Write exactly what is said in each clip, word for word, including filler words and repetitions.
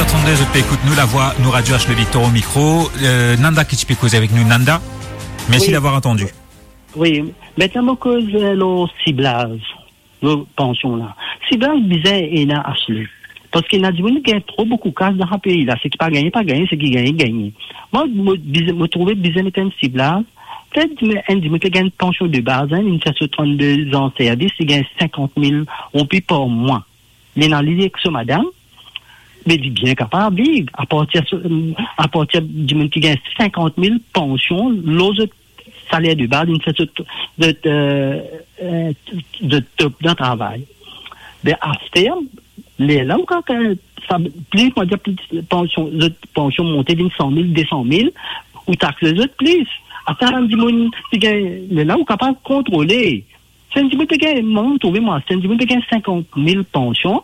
Trannde, zot pe ekout nou, Lavwa, nou Radio H, le Victor au micro. Euh, Nanda ki ti pe koze avek nou. Nanda, merci d'avoir attendu. Wi, aster mo koz, euh, lor siblaz, lor pansion la. Siblaz bizin ena, Ashley. Parski ena dimoun ki gagn tro boukou kas dan sa pei la. Seki pa gagne, pa gagne, seki gagne, gagne. Mwa, mo bizin, mo trouve bizin met enn siblaz. Petet enn dimoun ki gagn pansion de baz, hein, li fer so trannde zan servis, li gagn sinkant mil roupi par mwa. Li ena li ek so madam, me li bien kapav viv. Apartir so, apartir dimoun ki gagn sinkant mil pansion, lor zot saler de baz, li fer zot, zot, euh, euh, zot top dan travay. Be aster, lerla ou kapav, sa, plis, mo dir, plis pansion, zot pansion monte vinn san mil, de san mil, ou taxe zot plis. Aster, bann dimoun ki gagn, lerla ou kapav kontrole. Si enn dimoun pe gagn, mwa, trouve mwa, si enn dimoun pe gagn sinkant mil pansion,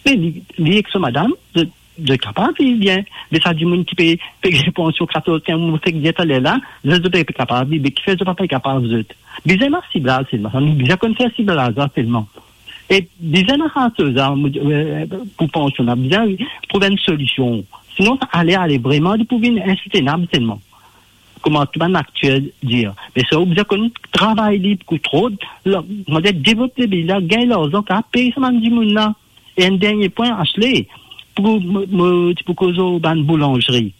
me li, li ek so madam, zot, zot kapav viv bien. Me sa dimoun ki pe, pe gagn pansion katorz, kinz, mo fek dir taler la, zot, zot pe kapav viv, me kifer zot pa pe kapav zot? Bizin ena siblaz selman, nou bizin konn fer siblaz la selman. E bizin ena sa soz la, mo, euh, pou pansion la, bizin trouv enn solision. Sinon, sa ale, ale, vreman, li pou vinn insoutenab selman. Kouma tou bann akter dir. Me sa, ou bizin konn travay li pou trouv, la, mo dir, devlop lepei la, gagn larzan, kapav pey sa bann dimoun la. E enn dernie pwin, Ashley, pou mo, mo ti pou koz lor bann boulanzri.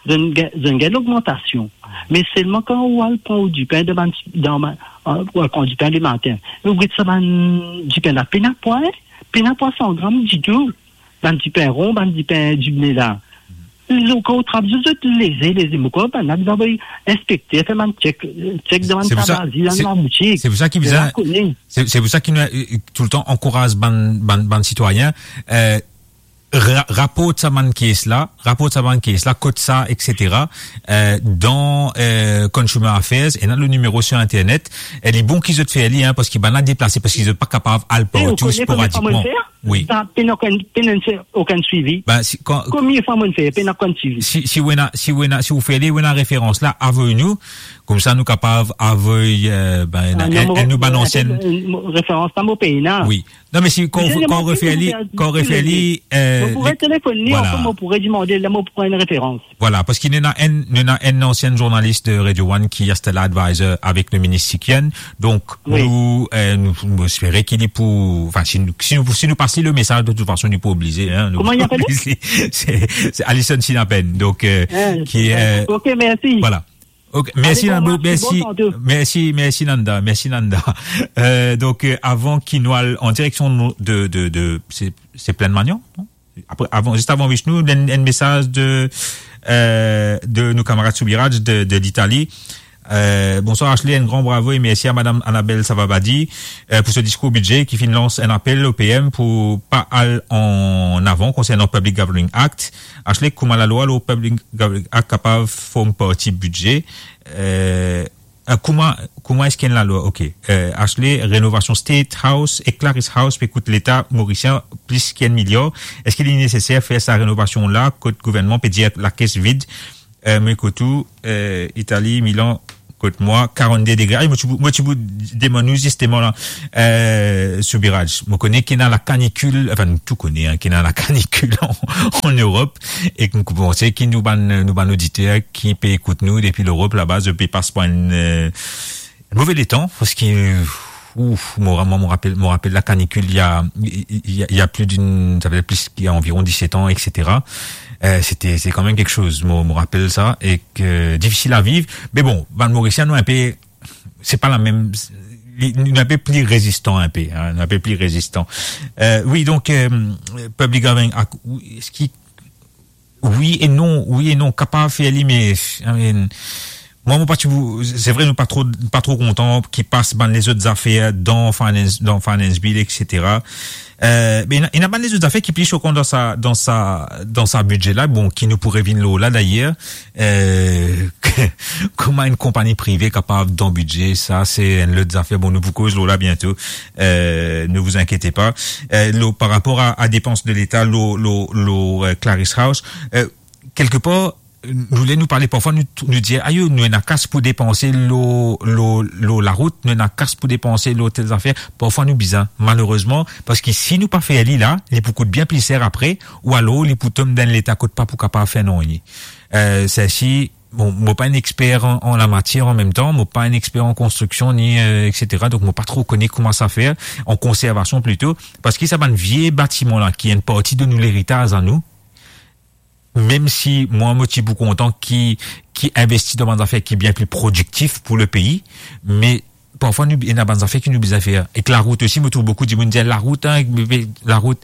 Zot gagn, zot gagn logmantasion. Me selman kan ou al pran ou dipin dan bann, dan bann, euh, ou al pran dipin lematin, ou get sa bann dipin la, pena pwa, hein? Pena pwa san gram ditou. Bann dipin ron, bann dipin dibne la. Zot, kan ou trap zot, zot leze, leze. Mo krwar bann la bizin avoy inspekter, fer bann chek, chek dan bann tabazi, dan laboutik. Se pou sa ki bizin, se, se pou sa ki nou, euh, toultan ankouraz bann, bann, bann sitwayin, euh, ra-, raport sa bann kes la, raport sa bann kes la, kot sa, et cetera. Euh, dan, euh, Consumer Affairs, ena le nimero sir internet. E li bon ki zot fer li, hein, parski bann la deplase, parski zot pa kapav al partou, sporadikman. Wi. Sa, pena okenn, pena okenn swivi. Ben, si, kan, konbien fwa mo'nn fer, pena okenn swivi. Si, si ou ena, si ou ena, si ou fer li, ou ena referans la, avoy nou, koumsa nou kapav avoy, euh, ben, enn, enn nou bann ansien. Referans la, mo pena. Wi. Non, me si, kan, kan ou refer li, kan ou refer li, euh, mo pou telefonn li, anfin, mo pou redimande, la, mo pou pran enn referans. Vwala, parski nou ena enn, nou ena enn ansien zournalis de Radio One ki aster la advisor avek le minis Sikyan. Donk, nou, euh, nou, nou espere ki li pou, anfin, si nou, si nou, si nou pas li le mesaz, de tout fason, nou pou oblize, hein, nou pou oblize. Kouma li apel? Se, se Alison Sinapen, donk, euh, ki, euh, ok, mersi. Vwala. Ok, mersi, Nanda, mersi, mersi, Nanda, mersi, Nanda. Euh, donk, euh, avan ki nou al an direksion de, de, de, se, se Plaine Magnan, non? Apre, avan, zis avan Vishnu, enn, enn mesaz de, euh, de nou kamarad Soubiraj de, de Litali. Euh, "Bonsoir Ashley, enn gran bravo e mersi a Madam Annabelle Savabadi, euh, pou so diskour bidze ki finn lans enn apel o P M pou pa al an avan konsernan Public Gathering Act. Ashley, kouma lalwa lor Public Gathering Act kapav form parti bidze? Euh, euh, kouma, kouma eski enn lalwa?" Ok. Euh, Ashley, renovasion State House ek Claris House pe kout Leta morisien plis ki enn miliar. Eski li neseser fer sa renovasion la kot gouvernman pe dir lakes vid? Euh, mo kot ou, euh, Itali, Milan, kot mwa, karannde degre. Ay, mo ti pou, mo ti pou demann ou zisteman la, euh, Soubiraj. Mo kone ki ena lakanikil, anfin, nou tou kone, hein, ki ena lakanikil an, an Lerop, e nou panse ki nou bann, nou bann oditer ki pe ekout nou depi Lerop laba, zot pe pas par enn, euh, move letan, parski, ouf, mo ra-, mo, mo rapel, mo rapel lakanikil, il y a, il y a, il y a plus d'une, ça fait plus, il y a environ dix-sept ans, et cetera. Euh, c'était, c'est quand même quelque chose, mo, mo rapel sa, e ke difisil a viv. Me bon, bann Morisien, nou enpe, se pa lamem, li, nou enpe pli rezistan enpe, hein, nou enpe pli rezistan. Euh, wi, donk, euh, Public Gathering Act, wi, eski wi e non, wi e non, kapav fer li, me, I mean, mwa, mo pa ti pou, se vre, nou pa tro, pa tro kontan ki pas bann lezot zafer dan finance, dan finance bill, et cetera. Euh, me ena, ena bann lezot zafer ki pli sokan dan sa, dan sa, dan sa bidze la, bon, ki nou pou revinn lor la, dayer, euh, kouma enn konpagni prive kapav dan bidze, sa, se enn lot zafer. Bon, nou pou koz lor la biento. Euh, ne vous inquiétez pas. Euh, lor, par rapor a, a depans de Leta, lor, lor, lor, euh, Claris House, euh, kelkepar, nou le nou pale, parfwa nou, nou dir, "Ayo, nou ena kas pou depanse lor, lor, lor larout, nou ena kas pou depanse lor tel zafer." Parfwa nou bizin, malerezman, parski si nou pa fer li la, li pou kout bien pli ser apre, ou alor li pou tom dan leta kot pa pou kapav fer nanye. Eh, seki, bon, mo pa enn exper an, an lamatier an mem tan, mo pa enn exper an konstriksion, ni, eh, et cetera. Donk, mo pa tro kone kouma sa fer, an konservasion plito, parski sa bann vie batiman la, ki enn parti de nou leritaz a nou, mem si mwa, mo ti pou kontan ki, ki investi dan bann zafer ki bien pli prodiktif pou lepei, me parfwa nou ena bann zafer ki nou bizin fer. Ek larout osi, mo trouv boukou dimoun dir, "Larout, hein, larout,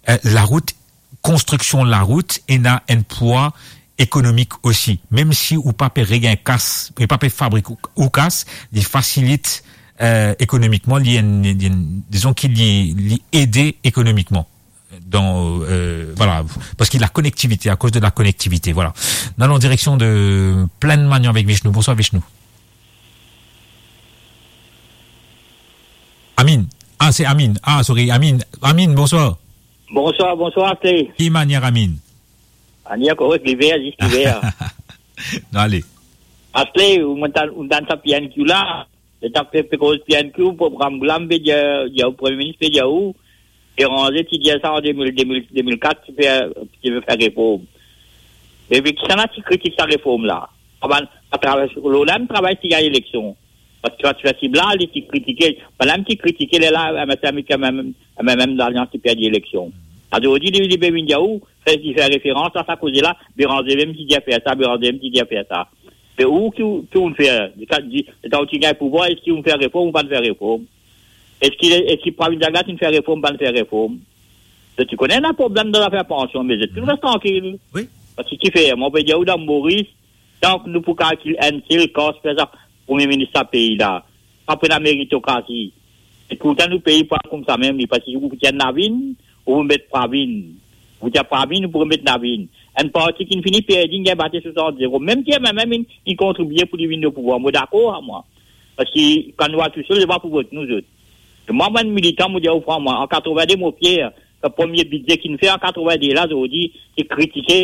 eh, larout, konstriksion larout ena enn pwa ekonomik osi." Mem si ou pa pe regagn kas, ou pa pe fabrik ou, ou kas, li fasilit, eh, ekonomikman, li enn, li enn, dizon ki li, li ede ekonomikman. Dan, eh, vwala, parski lakonektivite, akoz de lakonektivite, vwala. Nou al an direksion de Plaine Magnan avek Vishnu. Bonswar, Vishnu. Amin. Ah, se Amin. Ah, sorry, Amin. Amin, bonswar. Bonswar, bonswar, Asle. Ki manier, Amin? Manier korek, liver, zis liver. Non, ale. Asle, ou monn tann, ou tann sa P N Q la. Letan pe, pe koz P N Q, program la, pe dir, dir ou, Premie Minis pe dir ou, Béranger ti dir sa an de mil, de mil, de mil kat, ti pe, ti pe fer reform. Me, me kisannla ti kritik sa reform la? Avan, atraver, lor la mem travay ti gagn eleksion. Parski kan ti fer siblaz, li ti kritike. Bann la mem ti kritike, lerla, M S M, M M, M M, M M Lalians ti perdi eleksion. Azordi, li, li pe vinn dir ou, fer, li fer referans a sa koze la, Béranger mem ti dir fer sa, Béranger mem ti dir fer sa. Me ou ki, ki ou'nn fer? Letan, letan ou ti gagn pouvwar, eski ou'nn fer reform ou pa'nn fer reform? Eski, eski Pravin Jagat inn fer reform, pa'nn fer reform? Zot ti kone ena problem dan zafer pansion, me zot finn res trankil. Wi. Parski kifer, mo pe dir ou dan Moris, tank nou pou kalkil enn sel kas fer sa, Premie Minis sa pei la. Pa pou ena meritokrasi. E pourtan nou pei pa koumsa mem, li, parski ou pou ti enn Navin, ou pou met Pravin. Ou ti a Pravin, ou pou met Navin. Enn parti ki'nn fini perdi, inn gagn bate swasant zero. Mem ki M M M inn, inn kontribie pou li vinn o pouvwar, mo dakor ar mwa. Parski kan nou al tousel, se pa pou vot nou zot. E mwa, mo enn militan, mo dir ou frank, mwa, an katrovin-de mo fier, sa premie bidze ki'nn fer an katrovin-de la, zordi, ki kritike,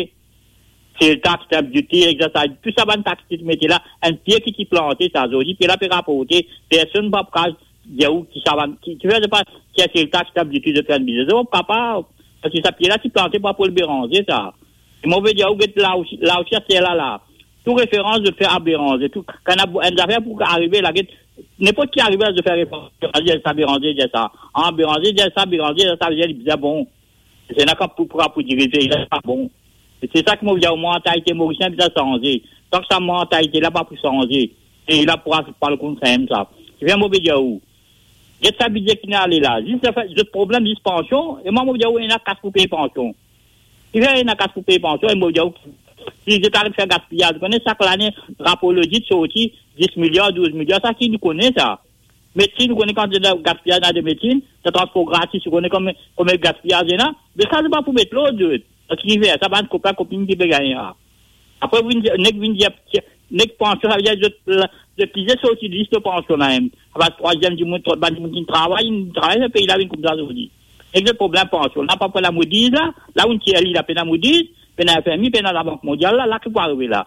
sel tax, stamp duty, excise tax, tou sa bann tax ki ti mete la, enn pie ki ti plante sa, zordi pie la pe raporte, personn pa kapav dir ou ki sa bann, ki, ki fer, se pa, ki sel tax, stamp duty, zot fer enn biznes, zot pa kapav, parski sa pie la ti plante pa pou Béranger sa. E mo pe dir ou, get la osi, la osi, aster la la, tou referans zot fer a Béranger, tou, kan ena enn zafer pou arive la, get, ninport ki arive la, zot fer referans, Béranger dir sa, Béranger dir sa, an Béranger dir sa, Béranger dir sa, sa vedir li bizin bon. Se ena kan pou, pou, pou dirize, li pa bon. E se sa ki mo dir, mantalite morisien bizin sanze. Tank sa mantalite la pa pou sanze, pei la pou al, pou al konn samem sa. Kifer mo pe dir ou, get sa bidze ki'nn ale la. Zis zafer, zot problem zis pansion, e mwa mo dir ou, ena kas pou pey pansion. Kifer ena kas pou pey pansion, e mo dir ou, si zot aret fer gaspiyaz, kone sak lane, rapor lodit sorti, dis miliar, douz miliar, sa ki nou kone sa. Medsin, nou kone kantite gaspiyaz ena de medsin, sa transpor gratis, nou kone konbien, konbien gaspiyaz ena, me sa, zot pa pou met lord, zot. Parski kifer, sa bann kopin, kopin ki pe gagne la. Apre, vinn dir, nek vinn dir, nek pansion, savedir zot, zot ki zis sorti lis de pansion la mem. Apa trwaziem dimoun, trwa, bann dimoun ki travay, inn travay, sa pei la vinn koumsa zordi. Nek zot problem pansion la, pa pou ena Moody's la, la ou'nn tir li la, pena Moody's, pena F M I, pena Labank Mondial la, la ki pou arive la?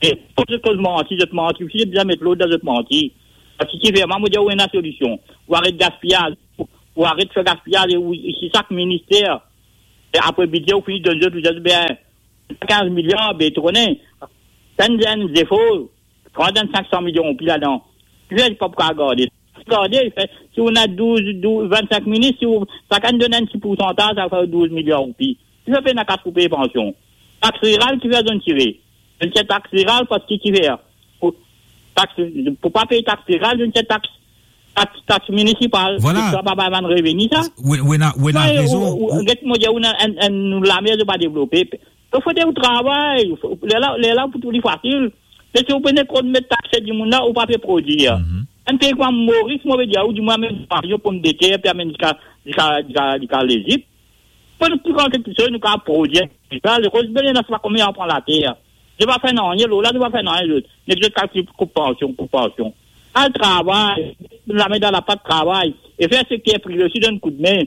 E pou zot koz manti, zot manti osi, zot bizin met lord dan zot manti. Parski kifer, mwa mo dir ou ena solision. Ou aret gaspiyaz, ou, ou aret fer gaspiyaz, e ou, si sak minister, e apre bidze, ou fini donn zot, ou dir, be, kinz miliar, be, to kone, fer enn zefor, trant enn sink san milion roupi ladan. Kifer pa pou kapav garde? Garde, fer, si ou ena douz, douz, vennsenk minis, si ou, sakenn donn enn ti poursantaz, sa fer douz miliar roupi. Kifer pena kas pou pey pansion? Tax riral, kifer zot tire? Zot tir tax riral parski kifer? Pou tax, pou pa pey tax riral, zot tir tax, tax, tax minisipal. Vwala. Sa pa, pa bann reveni sa. Ou, ou ena, ou ena rezon. Ou, ou, ou, get mo dir ou, ena enn, enn, nou lame, zot pa devlope. Donk fode ou travay, fo, lerla, lerla pou trouv li fasil. Me si ou pena kot met takse dimoun la, ou pa pe prodwir. Mhm. Enn pei kouma Moris, mo pe dir ou, dimoun amenn zwario, pomdeter, pe amenn ziska, ziska, ziska, ziska Lezip. Pou nou pran kiksoz, nou kapav prodwir. Sa, lekoz, be, ena sa konbien zan pran later. Zot pa fer nanye, lor la, zot pa fer nanye, zot. Nek zot kalkil koup pansion, koup pansion. Al travay, lame dan lapat, travay. E fer sekter prive osi donn koudme.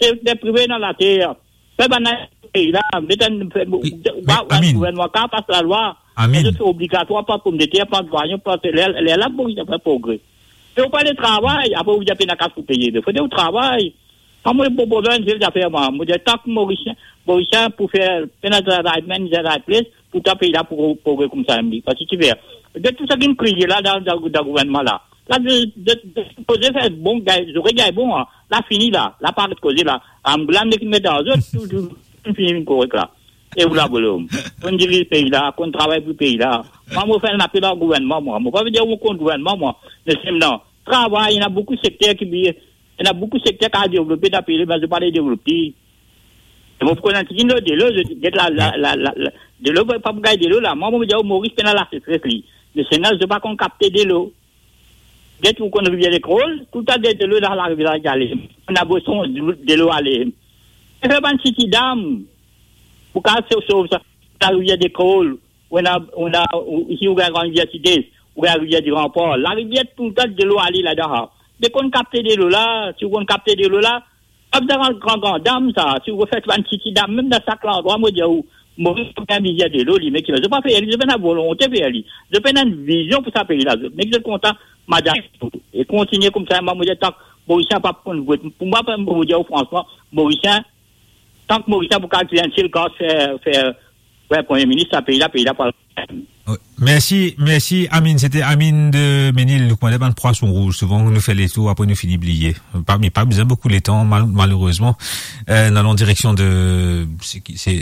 Sekter prive ena later. Fer bann pei la, met enn, fer, wi, ba, wi, Amin. Gouvernman kapav pas lalwa. Amin. Zot fer obligatwar, pa pomdeter, pa zwayon, pa ler, lerla pou fer progre. Me ou pale travay, apre ou dir pena kas pou peye. Me fode ou travay. Kan mo pou pran enn sel zafer, mwa, mo dir, tank Morisien, Morisien pou fer pena travay, menm travay plis, pou ta pei la pou progre koumsa mem li. Parski ki fer? Get tou sa ki'nn kriye la dan, dan, dan gouvernman la. La, de, de, de, koze fer bon, gagn, zore gagn bon, an. La fini la, la pa aret koze la. Am, glan nek met ar zot, tou, tou, tou fini vinn korek la. E ou la, bolom. Konn diriz pei la, konn travay pou pei la. Mwa, mo fer enn apel ar gouvernman, mwa. Mo pa ve dir mo kont gouvernman, mwa. Me selman, travay, ena boukou sekter ki, ena boukou sekter ki a devlope dan pei la, me zot pa le devlope. E mo pou konn enn tigit delo, zot get la, la, la, la, la, delo, pa pou gagn delo la. Mwa, mo dir, Moris pena laseseres li. Me selman, zot pa konn kapte delo. Get ou konn Rivier des Craoles, toultan de, delo dan larivier la ale. Ena bezoin delo ale. E fer bann siti dam, pou kapav sov, sov sa, larivier des Craoles, ou ena, ou ena, ou, isi ou gagn Gran Rivier Sidès, ou gagn Rivier du Rempart. Larivier toultan delo ale ladan, ha. Me konn kapte delo la, si ou konn kapte delo la, pa bizin gran, gran, gran dam sa, si ou fer bann siti dam, mem dan sak landrwa, mo dir ou, Moris pa bizin delo li, me ki, zot pa fer li, zot pena volonte fer li. Zot pena enn vizion pou sa pei la, zot. Me ki zot kontan, madanm, e kontigne koumsa, mwa, mo dir, tank Morisien pa konn vot, pou mwa, mo dir ou fransman, Morisien, tank Morisien pou kalkil enn sel kas fer, fer, fer Premie Minis, sa pei la, pei la pa Wi. Mersi, mersi, Amin. Sete Amin de Menil. Nou koumans bann pwason rouz. Souvan, nou fer letour, apre nou fini bliye. Pa, me pa bizin boukou letan, mal-, malerezman. Euh, nou al an direksion de, se ki, se,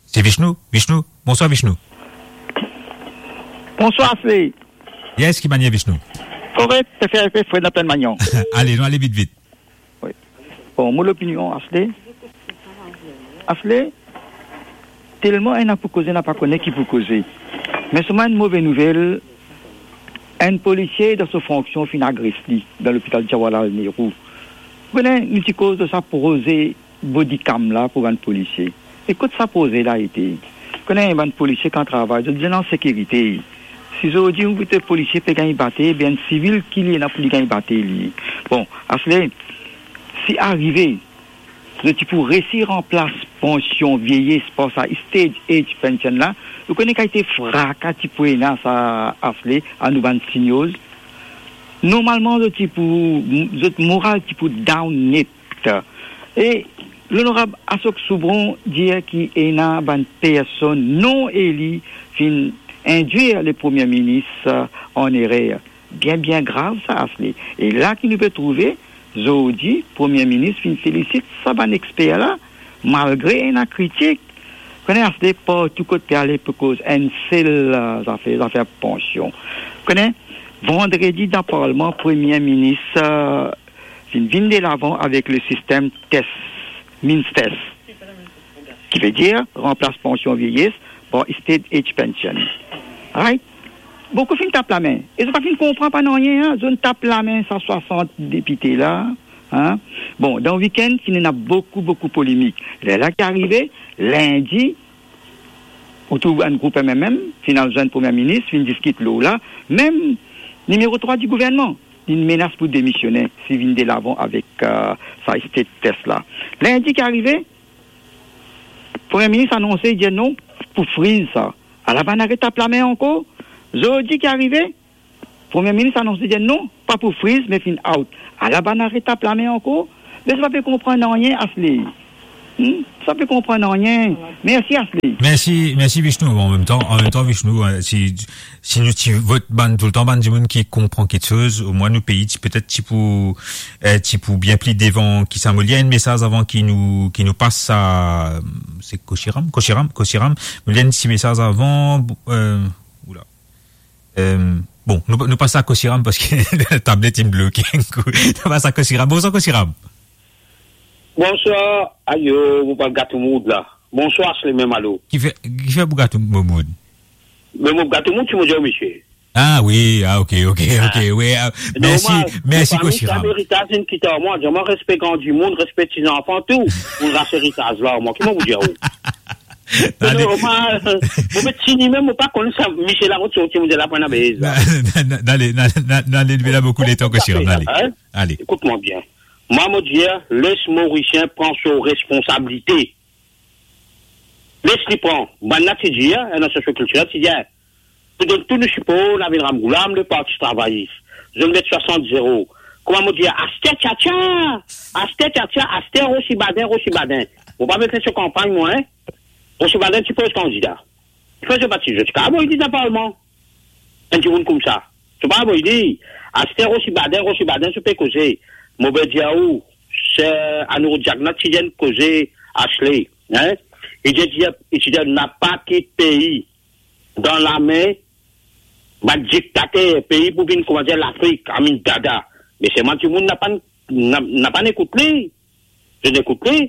se Vishnu? Vishnu? Bonswar, Vishnu. Bonswar, Asle. Yes, ki manier, Vishnu? Korek, se fer, fer Fred Laplenn Magnan. Ale, nou ale vit, vit. Wi. Bon, mo lopinion, Asle. Asle, telman ena pou koze, ena pa kone ki pou koze. Me selman enn move nouvel, enn polisie dan so fonksion finn agres li dan lopital Jawaharlal Nehru. Ou kone, nou ti koz de sa proze body cam la pou bann polisie. E kot sa proze la ete? Kone bann polisie kan travay, zot bizin an sekirite. Si zordi ou get polisie pe gagn bate, ebien enn sivil ki li ena pou li gagn bate li? Bon, Asle, si arive, zot ti pou resi ranplas pansion vieyes par sa state age pension la, ou kone kalite fraka ti pou ena sa, Asle, a nou bann seniors. Normalman, zot ti pou, zot moral ti pou down net. E Lonorab Ashok Soubron dir ki ena bann personn non eli finn indwir le Premie Minis, euh, an erer. Bien, bien grav sa, Asle. E la ki nou pe trouve, zordi, Premie Minis finn felisit sa bann exper la, malgre ena kritik. Kone, Asle, partou kot pe ale pou koz enn sel, euh, zafer, zafer pansion. Kone, vandredi dan Parlman, Premie Minis, euh, finn vinn delavan avek le sistem tes, MINS tes, ki ve dir ranplas pansion vieyes par state age pension. Right? Boukou finn tap lame. E zot pa finn konpran pa nanye, an. Zot tap lame sa swasant depite la, an. Bon, dan wikenn, finn ena boukou, boukou polemik. Lerla ki arive, lindi, ou trouv enn group M M M finn al zwenn Premie Minis, finn diskit lor la, mem nimero trwa di gouvernman, li menas pou demisione si vinn delavan avek, euh, sa state tes la. Lindi ki arive, Premie Minis anonse, dir non, pou friz sa. Ala bann aret tap lame ankor. Zordi ki arive, Premie Minis anonse, dir non, pa pou friz, me finn out. Ala bann aret tap lame ankor. Me sa pa pe konpran nanye, Asle. Hmm? Sa pe konpran nanye. Mersi, Asle. Mersi, mersi, Vishnu. Bon, an mem tan, an mem tan, Vishnu, euh, si, si nou ti vot bann, toultan bann dimoun ki konpran kiksoz, omwin nou pei ti, petet ti pou, euh, ti pou bien pli devan ki sa. Mo lir enn mesaz avan ki nou, ki nou pas a, se Koshiram? Koshiram, Koshiram. Mo lir enn ti mesaz avan, euh, oula. Euh, bon, nou, nou pas a Koshiram parski tablet inn bloke enn kou. Nou pas a Koshiram. Bonswar, Koshiram. Bonswar, ayo, mo pral gat ou moud la. Bonswar, Asle mem, alo. Kifer, kifer pou gat ou mo-, moud? Me mo gat ou moud, si mo dir ou, misie. Ah wi, ah, ok, ok, ok, wi, ah, mersi, normal, mersi, Koshiram. Sa eritas inn kit ar mwa, dir mwa respe gran dimoun, respe ti zanfan, tou. Mo ras eritaz la, mwa, ki mo pou dir ou? Se normal. Mo pe tini mem, mo pa konn sa, misie la, kot sorti, mo dir la, pena bez la. Na, na, na, na, ale, na, na, na, ale, nou pena boukou letan, Koshiram, na, ale. Ale. Ekout mwa bien. Mwa, mo dir, les Morisien pran so responsabilite. Les li pran. Bann la ti dir, enn asosiasion kiltirel ti dir, pou donn tou nou sipor, Navin Ramgoolam, le Parti Travayis. Zot met swasant zero. Kouma mo dir, aster tiatia, aster tiatia, aster Rosi Badin, Rosi Badin. Mo pa met so kanpagn, mwa, en. Rosi Badin ti poz kandida. Fer so parti, zot ti kav avoy li dan parlman. Enn dimoun koumsa. Zot pa avoy li. Aster Rosi Badin, Rosi Badin, zot pe koze. Mo pe dir ou, se Anouroud Jagnat ti dir enn koze, Ashley, en? Li dir, li dir, napa kit pei dan lame bann diktater, pei pou vinn, kouma dir, Lafrik, amin dada. Me selman dimoun napa, na-, napa ekout li. Zot ekout li.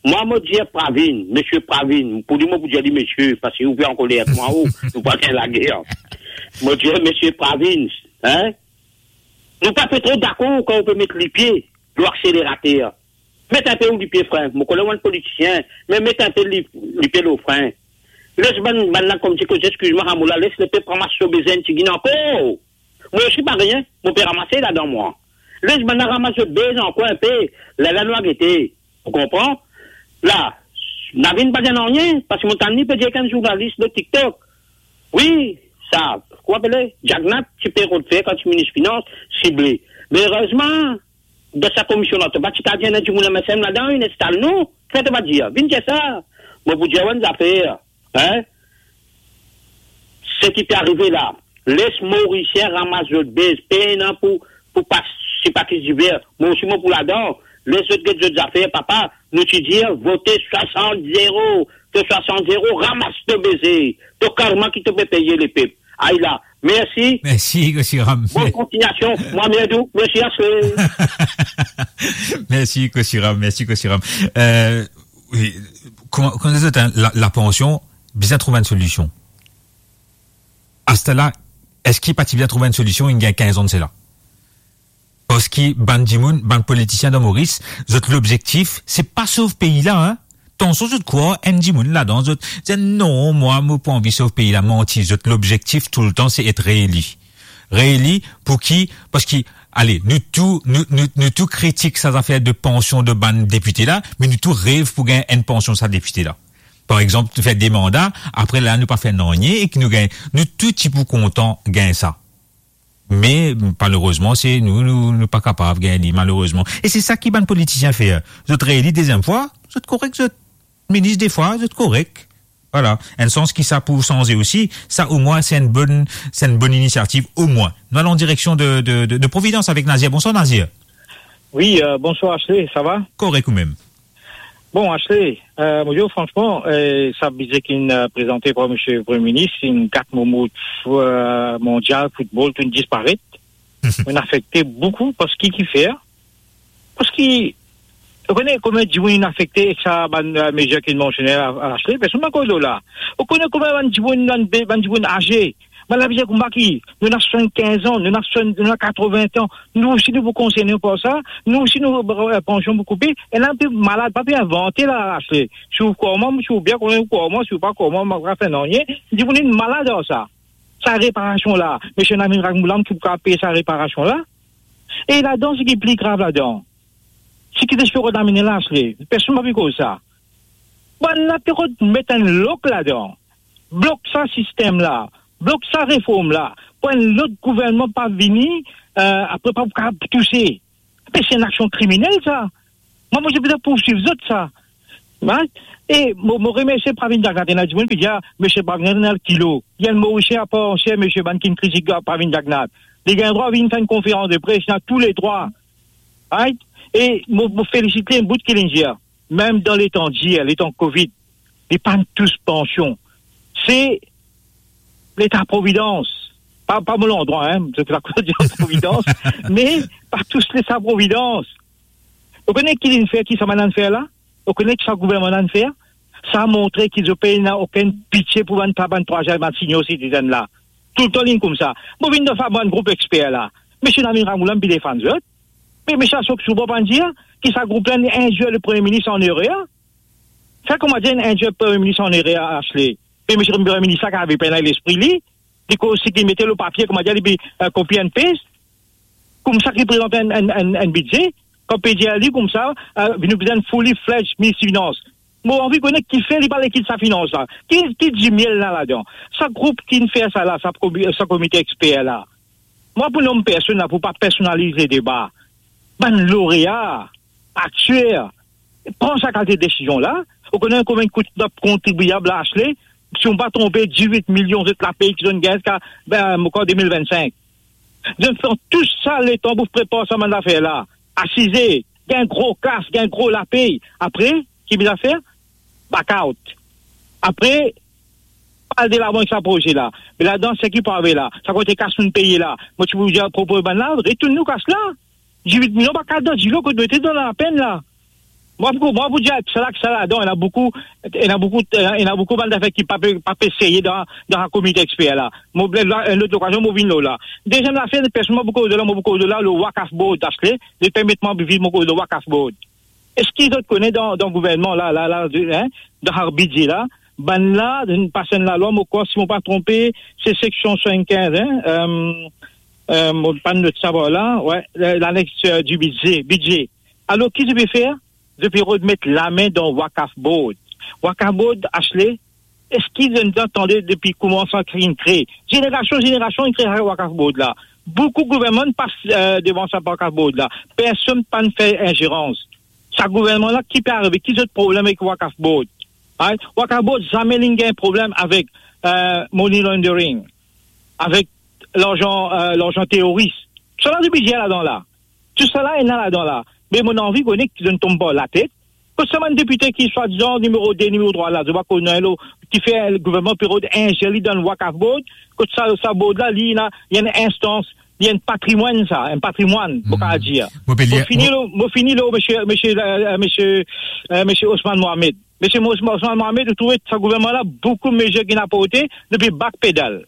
Mwa, mo dir Pravin, misie Pravin, pou li, mo pou dir li misie, parski ou pe ankoler ek mwa, ou, nou pa gagn lager. Mo dir, misie Pravin, en? Nou pa pe tro dakor kan ou pe met lipie lor akselerater. Met enpe ou lipie fren. Mo kone ou enn politisien, me met enpe li-, lipie lor fren. Les bann, bann la, kouma ti koze, eskiz mwa, Ramoula, les lepep ramas so bezin tigin ankor. Mwa osi parey, mo pe ramase ladan mwa. Les bann la ramas zot bez ankor enpe, lerla nou a gete. Ou konpran? La, Navin pa dir nanye, parski mo tann li pe dir ek enn zournalis lor TikTok. Wi, sa, kouma apele? Jagnat ti pe rod fer kan ti minis finans, sible. Me erezman, dan sa komisionn la, to pa ti kav dir enn dimoun MSM ladan, inn instal nou. Kifer to pa dir? Vinn dir sa. Mo pou dir ou enn zafer, en? Seki pe arive la, les Morisien ramas zot bez, pena pou, pou pas, sipatis diver. Mwa osi mo pou ladan. Les zot get zot zafer, papa. Nou ti dir, vote swasant zero. To swasant zero, ramas to beze. To karma ki to pe peye lepep. Ay la, mersi. Mersi, Kosiram. Bonn kontignasion. Mwa, mersi, mersi, Ashley. Mersi, Kosiram. Mersi, Kosiram. Euh, wi, kouma, kouma dir, en, la, lapansion, bizin trouv enn solision. Aster la, eski pa ti bizin trouv enn solision, inn gagn kinz an de sela? Parski bann dimoun, bann politisien dan Moris, zot lobzektif, se pa sov pei la, en. Tansion zot krwar enn dimoun ladan, zot dir, "Non, mwa, mo pa anvi sov pei la." Manti, zot lobzektif toultan, se et reeli. Reeli, pou ki? Parski, ale, nou tou, nou, nou, nou tou kritik sa zafer de pansion de bann depite la, me nou tou rev pou gagn enn pansion sa depite la. Par exanp, fer de manda, apre la, nou pa fer nanye e ki nou gagn, nou tou ti pou kontan gagn sa. Me, malerezman, se nou, nou, nou pa kapav gagn li, malerezman. E se sa ki bann politisien fer. Zot reeli deziem fwa, zot korek, zot minis de fwa, zot korek. Vwala. Enn sans ki sa pou sanze osi, sa omwin se enn bonn, se enn bonn inisiativ, omwin. Nou al an direksion de, de, de, de Providence avek Nazir. Bonswar, Nazir. Wi, euh, bonswar, Ashley, sa va? Korek, ou mem? Bon, Ashley, euh, mo dir ou fransman, euh, sa bidze ki'nn, euh, prezante par misie Premie Minis, inn gat mo moud, euh, mondial, foutbol, to'nn disparet. Mo'nn afekte boukou, parski kifer? Parski, ou kone konbien dimoun inn afekte ek sa bann, euh, mezir ki'nn mansione la, Ashley? Personn pa koz lor la. Ou kone konbien bann dimoun, bann be-, bann dimoun aze, bann la bizin konba ki, nou ena swasannkinz an, nou ena swasant, nou ena katrovin an, nou osi nou pou konserne par sa, nou osi nou, euh, pansion pou koupe, e la nou pe malad, pa pe invante la, Ashley. Si ou krwar mwa, si ou bien konn krwar mwa, si ou pa krwar mwa, mo pa fer nanye, dimoun inn malad ar sa. Sa reparasion la, misie Navin Ramgoolam ki pou kav pey sa reparasion la. E ladan, seki pli grav ladan, seki zot pe rod amenn la, Ashley, personn pa pe koz sa. Bann la pe rod met enn lok ladan. Blok sa sistem la, blok sa reform la, pou enn lot gouvernman pa vini, euh, apre pa pou kav touse. Me se enn aksion kriminel sa. Mwa, mo ti pou pourswiv zot sa. Right? E mo, mo remersie Pravin Jagnat, ena dimoun ki dir, "Ah, misie Jagnat ena kilo." Li enn Morisien apar antier, misie, bann ki'nn kritik Pravin Jagnat. Li gagn drwa vinn fer enn konferans de pres, li ena tou le drwa. Right? E mo, mo felisit li enn bout ki li'nn dir. Mem dan letan dir, letan Covid, li pa'nn tous pansion. Se Leta Providans. Pa, pa mo landrwa, en, se lakoz dir Providans, me pa tous Leta Providans. Ou kone ki li'nn fer, ki sa bann-la'nn fer la? Ou kone ki sa gouvernman-la'nn fer? Sa montre ki zot pena okenn pitie pou bann, sa bann trwaziem, bann senior citizen la. Toultan li'nn koumsa. Mo vinn dan sa bann group exper la. Misie Navin Ramgoolam, mo pe defann zot. Me, me sa, so, so, pa dir ki sa group la inn indir le Premie Minis an erer. Sa, kouma dir, inn indir Premie Minis an erer, Ashley. Me misie Premie Minis la, ki ave pena lespri li, li koz seki li mete lor papie, kouma dir, li pe, euh, copy and paste. Koumsa ki prezant enn, enn, enn, enn bidze, kan pe dir li koumsa, euh, nou bizin fully fledged minis finans. Mo anvi kone kifer li pa le kit sa finans la. Ki, ki dimiel la ladan? Sa group ki fer sa la, sa komi-, sa komite exper la. Mwa, pou nom personn la, pou pa personalize deba, bann lorea, akter, pran sa kalite desizion la. Ou kone konbien kout nou kontribiab la, Ashley? Si mo pa tronpe, dizwit milion zot lapey ki zot inn gagn ziska, be, ankor de mil vennsink. Zot inn fer tou sa letan pou prepar sa bann zafer la. Asize, gagn gro kas, gagn gro lapey. Apre, ki bizin fer? Back out. Apre, al delavan ek sa proze la. Me ladan, seki pou arive la, sa kantite kas nou peye la, mo ti pou dir, propoz bann la, retourn nou kas la. Dizwit milion pa kapav dan dilo kot nou ete dan lapenn la. Mwa, pou, mwa, pou dir, sa la, sa ladan, ena boukou, ena boukou, ena, ena boukou bann zafer ki pa pe, pa pe serye dan, dan sa komite exper la. Mo, la, enn lot lokazion, mo vinn lor la. Deziem zafer, personn mo pou koz la, mo pou koz la, le Waqf Board, Ashley, zot permet mwa vinn mo koz le Waqf Board. Eski zot kone dan, dan gouvernman la, la, la, hein, dan sa bidze la, bann la, zot inn pas enn lalwa, mo krwar, si mo pa tronpe, se seksion swasannkinz, hein, euh, euh, mo pa not sa par la, wi, la, laneks, euh, di bidze, bidze. Alor, ki zot pe fer? Zot pe rod met lame dan Waqf Board. Waqf Board, Ashley, eski zot inn tande depi kouma sa inn kre? Zenerasion, zenerasion inn kre sa Waqf Board la. Boukou gouvernman pas, euh, devan sa Waqf Board la. Personn pa'nn fer inzerans. Sa gouvernman la, ki pe arive? Ki zot problem avek Waqf Board? Right? Waqf Board zame linn gagn problem avek, euh, money laundering, avek larzan, euh, larzan teroris. Sa la, zot bizin ladan la. Tou sa la, ena ladan la. Me mo anvi kone ki zot inn tonm par latet. Kot sa bann depite ki swadizan nimero de, nimero trwa la, zot pa kone lo, ki fer gouvernman pe rod inzersi dan Waqf Board, kot sa, sa board la, li ena, li ena enn instans, li enn patrimwann sa, enn patrimwann, mo kapav dir. Mo pe lir, mo fini mo lo, mo fini lo, misie, misie, euh, misie, euh, misie Osman Mohamed. Misie Mos-, Osman Mohamed, ou trouve sa gouvernman la, boukou mezir ki inn aporte, depi backpedal.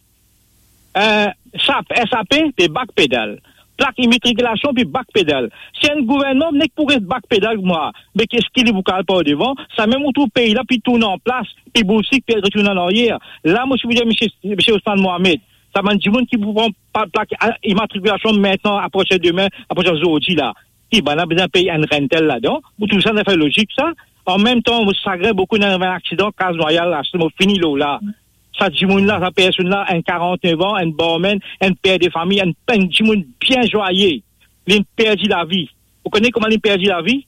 Euh, sap, S A P, pe backpedal. Plak imatrikulasion, pe backpedal. Si enn gouvernman nek pou res backpedal, mwa, me eski li pou al par devan? Samem ou trouv pei la pe tourn an plas, pe bousik, pe retourn an aryer. La, mo ti pou dir, misie, misie Osman Mohamed, sa bann dimoun ki pou pran pa-, plak, a, imatrikulasion aster, apartir demin, apartir zordi la, ki bann la bizin pey enn rental ladan? Ou trouv sa, sa fer lozik sa? An mem tan, mo sagrin boukou, ena enn aksidan Kaz Nwayal la, mo fini lor la. Sa dimoun la, sa personn la, enn karant-nev an, enn barman, enn per de fami, enn, enn dimoun bien zwaye, linn perdi lavi. Ou kone kouma linn perdi lavi?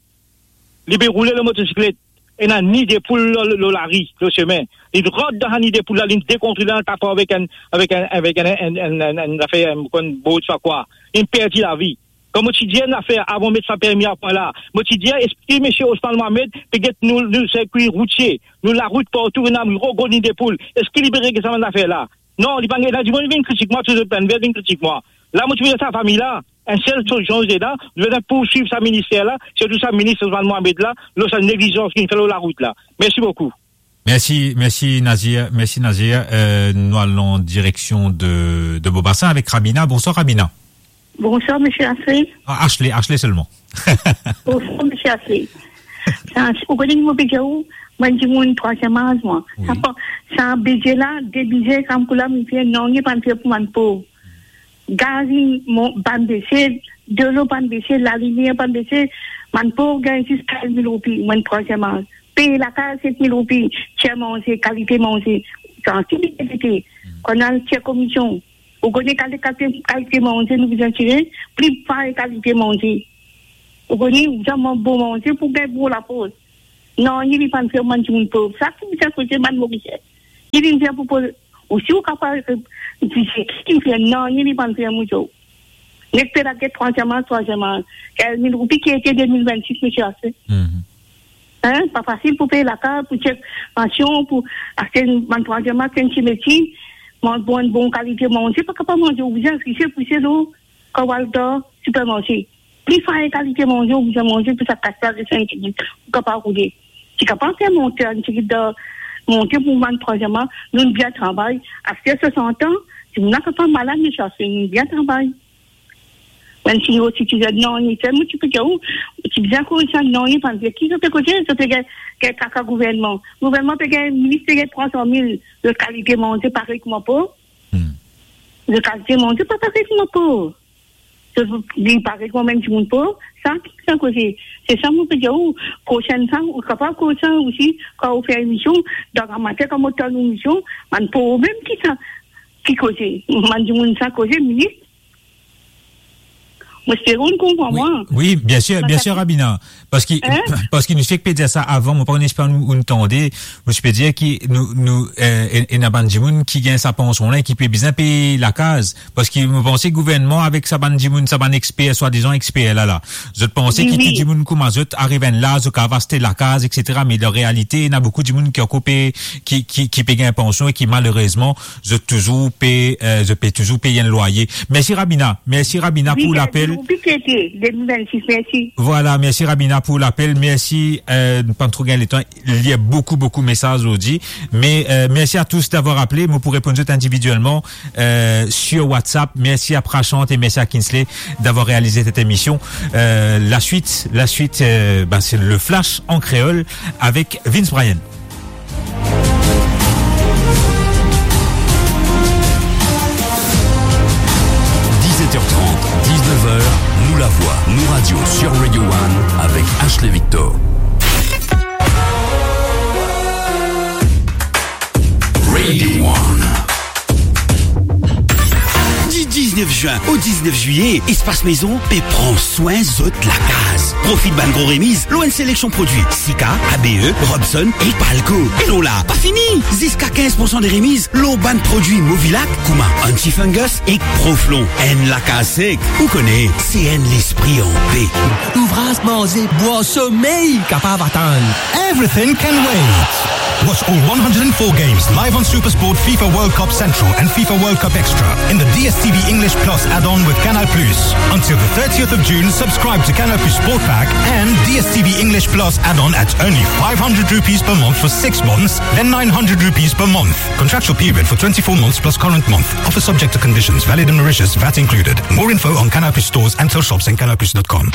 Li pe roule lor motosiklet, ena ni de poul lor, lor lari, lor sime. Linn rant dan sa ni de poul la, linn dekontrole, linn tap avek enn, avek enn, avek enn, enn, enn, enn, enn zafer, enn, enn board sa kwa. Linn perdi lavi. Kan mo ti dir enn zafer avan met sa permi a pwin la, mo ti dir, eski misie Osman Mohamed pe get nou, nou sirkwi routie, nou larout partou, ena gro, gro ni de poul? Eski li pe regle sa bann zafer la? Non, li pa gagn. Ena dimoun vinn kritik mwa, tou zot bann ver vinn kritik mwa. La, mo ti pe dir sa fami la, enn sel solisyon ena, nou bizin pourswiv sa minister la, sirtou sa minis Osman Mohamed la, lor sa neglizans ki li fer lor larout la. Mersi boukou. Mersi, mersi Nazir, mersi Nazir. Euh, nou al an direksion de, de Bobasin avek Ramina. Bonswar Ramina. Bonswar, misie Ashley. Ah, Ashley, Ashley selman. Bonswar, misie Ashley. Sa, ou kone ki mo pe dir ou, mwa, dimoun trwaziem az, mwa. Wi. Sa pa, sa bidze la, de bidze, kan pou la, misie, nanye pa'nn fer pou bann pov. Gaz, mo-, pa'nn bese, delo pa'nn bese, lalimier pa'nn bese, bann pov gagn zis katr mil roupi, mwa, trwaziem az. Pey lakaz, set mil roupi, tir manze, kalite manze. Sa, ki bidze, hmm, kan al tir komision. Ou kone kalite, kalite, kalite manze nou bizin tire, pli fine kalite manze. Ou kone, ou bizin manz bon manze pou gagn bon lafors. Nanye li pa'nn fer bann dimoun pov. Sa ki bizin koze bann Morisien. Ki bizin pou poz, ou si ou kapav, euh, dir, ki bizin fer, nanye li pa'nn fer, mo dir ou. Nek pe laget trwaziem az, trwaziem az. Kinz mil roupi ki ete de mil vennsis, misie Ashley. Mhm. Hein, pa fasil pou pey lakaz, pou tir pansion, pou aste bann trwaziem az, enn ti meti, manz bon, bon kalite manze, pa kapav manze, ou bizin rise, pouse lor, kan ou al dan sipermarse. Pli fine kalite manze, ou bizin manze pou sa kas la, de senk minit, ou kapav roule. Ti kapav fer monte, ti kapav monte pou bann trwaziem az, nou bien travay. Aster swasant an, dimoun la kapav malad, misie Ashley, nou bien travay. Bann senior citizen, nanye, selman ti pe gagn ou, ti bizin koz sa, nanye pa'nn fer. Ki zot pe koze, zot pe gagn, gagn kaka gouvernman. Gouvernman pe gagn, minis pe gagn trwa san mil, zot kalite manze parey kouma pov. Hmm. Zot kalite manze pa parey kouma pov. Li parey kouma bann dimoun pov, sa ki sa koze. Se sa mo pe dir ou, prosenn sa, ou kapav koz sa osi, kan ou fer emision, dan amater, kan mo tann ou emision, bann pov mem ki sa, ki koze. Bann dimoun sa koze, minis. Mo espere ou konpran mwa. Wi, wi, bien sir, bien sir, Rabina. Parski, parski nou fek pe dir sa avan, mo pa kone si ou, ou tande, mo ti pe dir ki nou, nou, eh, e, ena bann dimoun ki gagn sa pansion la e ki pe bizin pey lakaz. Parski mo panse gouvernman avek sa bann dimoun, sa bann exper, swadizan exper la la, zot panse ki tou dimoun kouma zot ariv enn laz, zot kapav aste lakaz, et cetera. Me dan realite, ena boukou dimoun ki ankor pe, ki, ki, ki pe gagn pansion e ki malerezman, zot touzour pe, eh, zot pe touzour pey enn lwaye. Mersi Rabina, mersi Rabina pou lapel. Wi, wi, wi, wi, wi, wi, wi, wi, wi. Vwala, mersi Rabina pou lapel, mersi, eh, nou pa tro gagn letan. Il y a beaucoup, beaucoup de messages aujourd'hui. Mais, euh, merci à tous d'avoir appelé. Mo pou reponn zot individuellement, euh, sur WhatsApp. Merci à Prashant et merci à Kinsley d'avoir réalisé cette émission. Euh, la suite, la suite, euh, ben, c'est le Flash en créole avec Vince Bryan. Dix-sept heures trente, dix-neuf heures, Nou Lavwa, Nou Radio sur Radio One avec Ashley Victor. Radio One. Di diznef zin o diznef zilye, Espace Maison pe pran swin zot lakaz. Profit bann gro remiz lor enn seleksion prodwi, Sika, A B E, Robson ek Palco. E lor la, pa fini! Ziska kinz poursan de remiz lor bann prodwi Movilac, kouma Anti-Fungus ek Proflon. Enn lakaz sek, ou kone, se enn lespri anpe. Louvraz, manze, bwar, somey kapav atann. Everything can wait. Watch all one hundred and four games live on SuperSport, FIFA World Cup Central and FIFA World Cup Extra in the D S T V English Plus add-on with Canal Plus. Until the thirtieth of June, subscribe to Canal Plus Sport Pack and D S T V English Plus add-on at only five hundred rupees per month for six months, then nine hundred rupees per month. Contractual period for twenty-four months plus current month. Offer subject to conditions, valid in Mauritius, VAT included. More info on Canal Plus stores and till shops and canal plus dot com.